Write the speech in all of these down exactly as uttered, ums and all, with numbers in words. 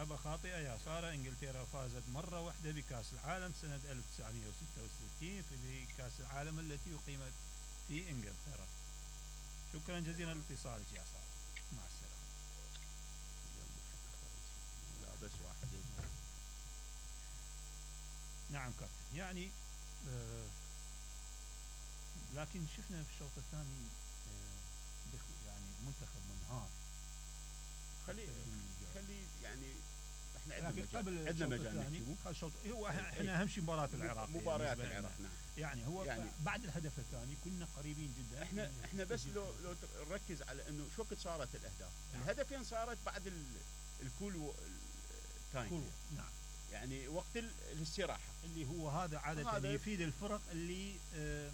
إجابة خاطئة يا سارة. إنجلترا فازت مرة واحدة بكأس العالم سنة ألف وتسعمائة وستة وستين في كأس العالم التي أقيمت في إنجلترا. شكرا جزيلا لاتصالك يا سارة، مع السلامة. لا بس واحد. نعم كابتن، يعني آه لكن شفنا في الشوط الثاني آه يعني منتخب منهار. خلي خلي يعني احنا عندنا قبل عندنا مجال الشوط هو احنا اهم شيء مباراة العراق، مباريات العراق. نعم يعني هو يعني بعد الهدف الثاني كنا قريبين جدا. احنا احنا بس لو لو نركز على انه شو وقت صارت الاهداف. نعم. الهدفين صارت بعد الكول تايم. نعم يعني وقت الاستراحة اللي هو هذا عادة اللي يفيد الفرق اللي آه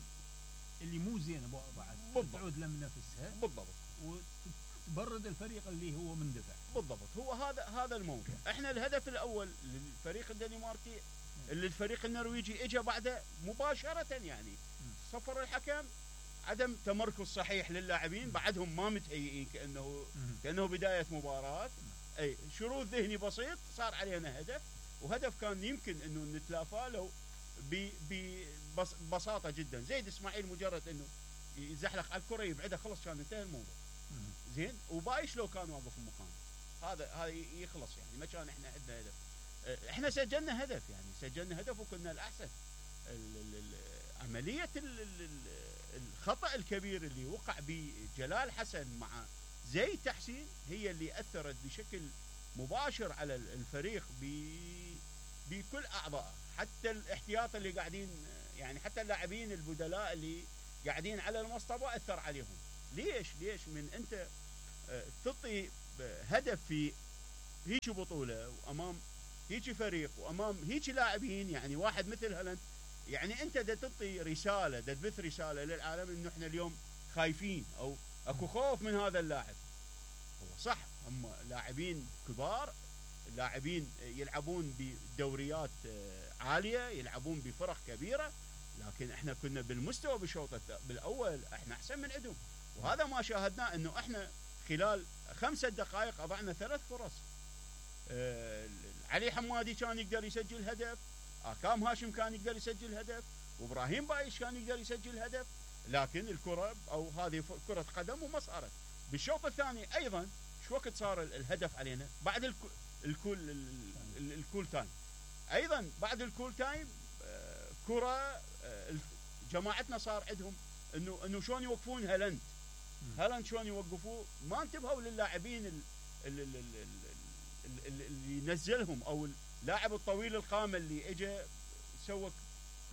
اللي مو زينة بعد تعود لم نفسها بالضبط وتبرد الفريق اللي هو مندفع. بالضبط هو هذا هذا الموضوع. احنا الهدف الاول للفريق الدنماركي اللي الفريق النرويجي اجى بعده مباشرة، يعني صفر الحكم، عدم تمركز صحيح للاعبين، بعدهم ما متهيئين كانه كانه بداية مباراة. اي شرود ذهني بسيط صار علينا هدف، وهدف كان يمكن انه نتلافاه لو ببساطه جدا. زيد اسماعيل مجرد انه يزحلق على الكره يبعدها خلص كان انتهى الموضوع. زين وبايش لو كان واقف مكانه هذا هذا يخلص، يعني ما كان احنا عندنا هدف. احنا سجلنا هدف، يعني سجلنا هدف وكنا الاحسن. عمليه الخطا الكبير اللي وقع بجلال حسن مع زيد تحسين هي اللي اثرت بشكل مباشر على الفريق بكل اعضائه، حتى الاحتياط اللي قاعدين، يعني حتى اللاعبين البدلاء اللي قاعدين على المصطبه اثر عليهم. ليش ليش من انت تعطي هدف في هيك بطوله وامام هيك فريق وامام هيك لاعبين، يعني واحد مثل هالاند، يعني انت دا تعطي رساله، دا تبث رساله للعالم انه احنا اليوم خايفين او اكو خوف من هذا اللاعب. هو صح هم لاعبين كبار، لاعبين يلعبون بدوريات عاليه، يلعبون بفرق كبيره، لكن احنا كنا بالمستوى بالشوط بالاول احنا احسن من عندهم. وهذا ما شاهدناه، انه احنا خلال خمسة دقائق اضعنا ثلاث فرص. آه علي حمادي كان يقدر يسجل هدف، اكام هاشم كان يقدر يسجل هدف، وابراهيم بايش كان يقدر يسجل هدف، لكن الكره او هذه كره قدم وما صارت. بالشوط الثاني ايضا شو وقت صار الهدف علينا؟ بعد الكل الكول الكول تايم. ايضا بعد الكول تايم آه كره آه جماعتنا صار عندهم انه انه شلون يوقفون هالاند. هالاند شلون يوقفوه؟ ما انتبهوا للاعبين اللي نزلهم او اللاعب الطويل القامه اللي اجى سوى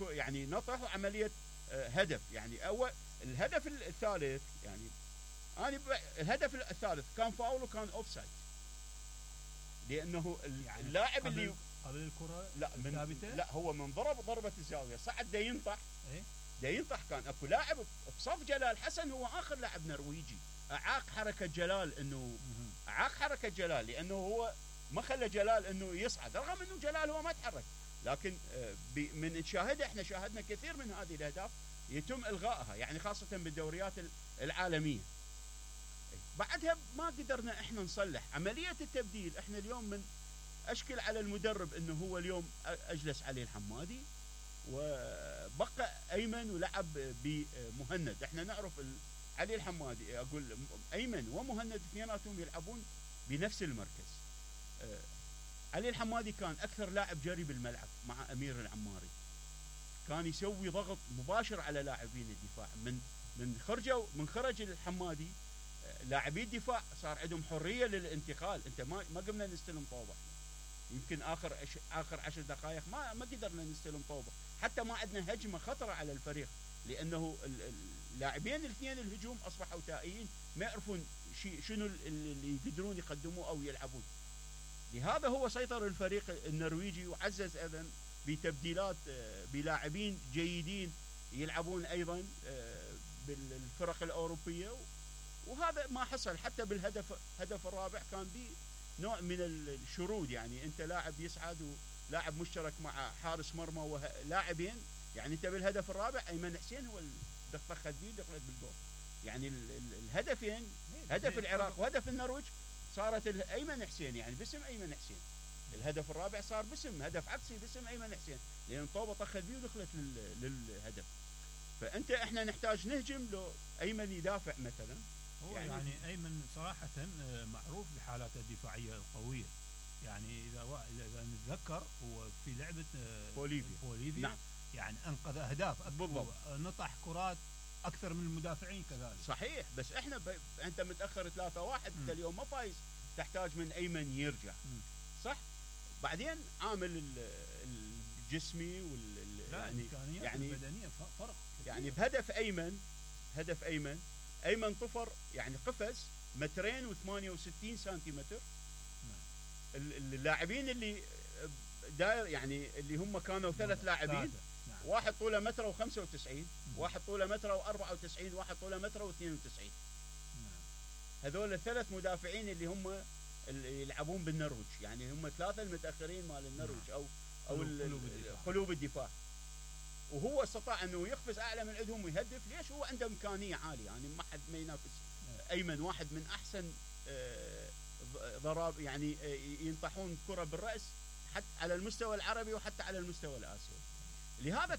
يعني نطح وعمليه آه هدف. يعني اول الهدف الثالث، يعني انا الهدف الثالث كان فاول وكان اوفسايد، لانه يعني اللاعب اللي قبل الكره لا من لا هو من ضرب ضربه الزاويه صعد دا ينطح ايه دا ينطح. كان اكو لاعب بصف جلال حسن هو اخر لاعب نرويجي اعاق حركه جلال، انه اعاق حركه جلال لانه هو ما خلى جلال انه يصعد، رغم انه جلال هو ما تحرك. لكن من نشاهدها احنا شاهدنا كثير من هذه الاهداف يتم الغائها، يعني خاصه بالدوريات العالميه. بعدها ما قدرنا احنا نصلح عمليه التبديل. احنا اليوم من اشكل على المدرب انه هو اليوم اجلس علي الحمادي وبقى ايمن ولعب بمهند. احنا نعرف علي الحمادي، اقول ايمن ومهند اثنيناتهم يلعبون بنفس المركز. علي الحمادي كان اكثر لاعب جري بالملعب مع امير العماري، كان يسوي ضغط مباشر على لاعبين الدفاع. من من خرجوا من خرج الحمادي لاعبي الدفاع صار عندهم حريه للانتقال. انت ما ما قمنا نستلم طوبه، يمكن اخر أش... اخر عشر دقائق ما ما قدرنا نستلم طوبه، حتى ما عندنا هجمه خطره على الفريق، لانه اللاعبين الاثنين الهجوم اصبحوا تائيين، ما يعرفون شي شنو اللي يقدرون يقدموه او يلعبون. لهذا هو سيطر الفريق النرويجي وعزز ايضا بتبديلات بلاعبين جيدين يلعبون ايضا بالفرق الاوروبيه، وهذا ما حصل. حتى بالهدف هدف الرابع كان به نوع من الشرود، يعني انت لاعب يصعد ولاعب مشترك مع حارس مرمى ولاعبين، يعني انت بالهدف الرابع ايمن حسين هو دخل خديه دخلت بالجول. يعني الهدفين هدف العراق وهدف النرويج صارت ايمن حسين، يعني باسم ايمن حسين. الهدف الرابع صار باسم هدف عكسي باسم ايمن حسين، لان طوبه طخت بيه ودخلت للهدف. فانت احنا نحتاج نهجم لو ايمن يدافع مثلا. هو يعني, يعني ايمن صراحه معروف بحالاته الدفاعيه القويه، يعني اذا اذا نتذكر هو في لعبه بوليفيا بوليفيا نعم. يعني انقذ اهداف بالضبط، نطح كرات اكثر من المدافعين كذلك. صحيح، بس احنا ب... انت متاخر ثلاثة واحد، انت اليوم ما فايز، تحتاج من ايمن يرجع. م. صح. بعدين عامل الجسمي وال يعني يعني البدنيه فرق يعني بهدف ايمن هدف ايمن ايمن طفر يعني قفز مترين وثمانية وستين سنتيمتر. اللاعبين اللي داير يعني اللي هم كانوا ثلاث لاعبين، نعم. واحد طوله متر وخمسة وتسعين، واحد طوله متر وأربعة وتسعين، واحد طوله متر واثنين وتسعين. نعم. هذول الثلاث مدافعين اللي هم اللي يلعبون بالنرويج، يعني هم ثلاثه المتاخرين مال النرويج او او قلوب الدفاع. قلوب الدفاع. وهو استطاع انه يقفز اعلى من عندهم ويهدف. ليش؟ هو عنده امكانيه عاليه، يعني ما حد ما ينافس. ايمن واحد من احسن ضرب، يعني ينطحون كره بالراس حتى على المستوى العربي وحتى على المستوى الاسيوي. لهذا